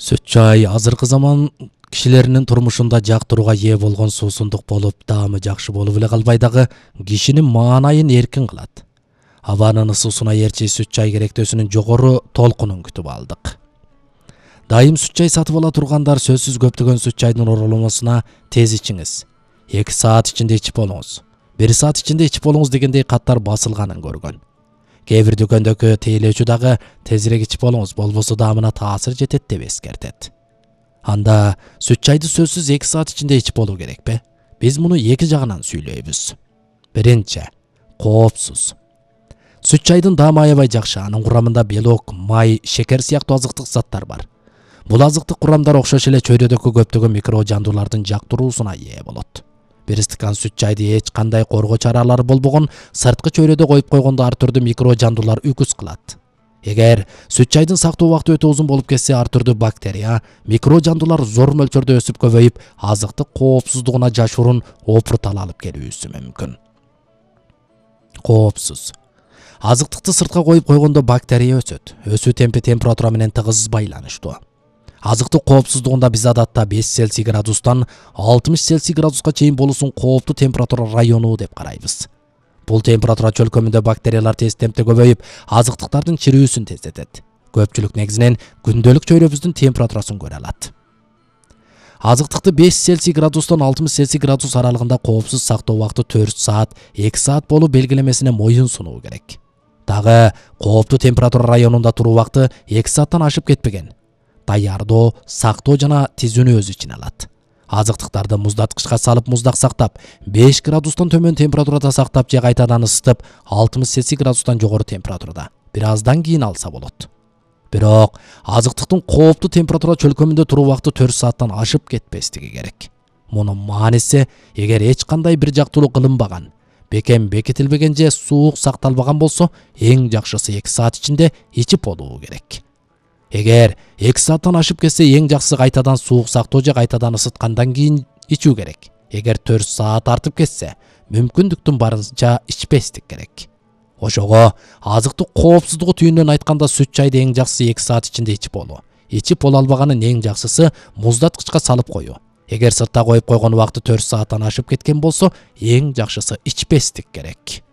Сүт чай азыркы заман кишилеринин турмушунда жактырууга ээ болгон суусундук болуп, даамы жакшы болуп эле калбай дагы кишинин маанайын эркин кылат. Абанын ысуусуна ээрчи сүт чай керектөөсүнүн жогору толкунун күтүп алдык. Дайым сүт чай сатып ала тургандар сөзсүз көптөгөн сүт чайдын ороломосуна тез ичиңиз, 2 саат ичинде ичип болуңуз, 1 саат ичинде ичип болуңуз дегендей каттар басылганын көргөн. Кээ бир дүкөндөгү тейлөөчү дагы тезирээк ичип болуңуз, болбосо даамына таасир жетет деп эскертет. Анда сүт чайды сөзсүз 2 саат ичинде ичип болуу керекпи? Биз муну 2 жагынан сүйлөйбүз. Биринчи, коопсуз. Сүт чайдын даамы аябай жакшы, анын курамында белок, май, шекер сыяктуу азыктык заттар бар. Бул азыктык курамдар окшош эле чөйрөдөгү көптөгөн микро жандуулардын жактыруусуна ээ болот. 1 стакан сүт чайды эч кандай коргоо чаралары болбогон сырткы чөйрөдө коюп койгондо ар түрдүү микро жандуулар үкүс кылат. Эгер сүт чайдын сактоо убакыты өтө узун болуп кетсе, ар түрдүү бактерия, микро жандуулар зор мөлчөрдө өсүп көбөйүп, азыктык коопсуздугуна жашыруун опуртал алып келүүсү мүмкүн. Коопсуз. Азыктыкты сыртка коюп койгондо бактерия өсөт. Өсүү темпи температура менен тыгыз байланыштуу. Азыктык коопсуздугунда биз адатта 5 Цельсий градустан 60 Цельсий градуска чейин болуусун кооптуу температура району деп карайбыз. Бул температура чөлкөмүндө бактериялар тез темпте көбөйүп, азыктыктардын чирүүсүн тездетет. Көпчүлүк негизинен күндөлүк чөйрөбүздүн температурасын көрө алат. Азыктыкты 5 Цельсий градустан 60 Цельсий градус аралыгында коопсуз сактоо убакыты 4 саат, 2 саат болуп белгилемесине моюн сунуу керек. Дагы кооптуу температура районунда туруу убакыты 2 сааттан ашып кетпеген. Даярдоо, сактоо жана тизүүнү өз ичине алат. Азыктыктарды муздаткычка салып муздак сактап, 5 градустан төмөн температурада сактап же кайтадан ысытып, 60 Цельсий градустан жогору температурада бир аздан кийин алса болот. Бирок азыктыктын кооптуу температура чөлкөмүндө туруу убакыты 4 сааттан ашып кетпестиги керек. Мунун мааниси, эгер эч кандай бир жактуулук кылынбаган, бекем бекитилбеген же суук сакталбаган болсо, эң жакшысы 2 саат ичинде ичип болуу керек. Эгер 2 сааттан ашып кетсе, эң жакшысы кайтадан суук сактоо же кайтадан ысыткандан кийин ичүү керек. Эгер 4 саат артып кетсе, мүмкүндүктүн барынча ичпестик керек. Ошого азыктык коопсуздугу түйүнүнөн айтканда сүт чайды эң жакшысы 2 саат ичинде ичип болуу. Ичип боло албаганын эң жакшысы муздаткычка салып коюу. Эгер сыртта коюп койгон убакыты 4 сааттан ашып кеткен болсо, эң жакшысы ичпестик керек.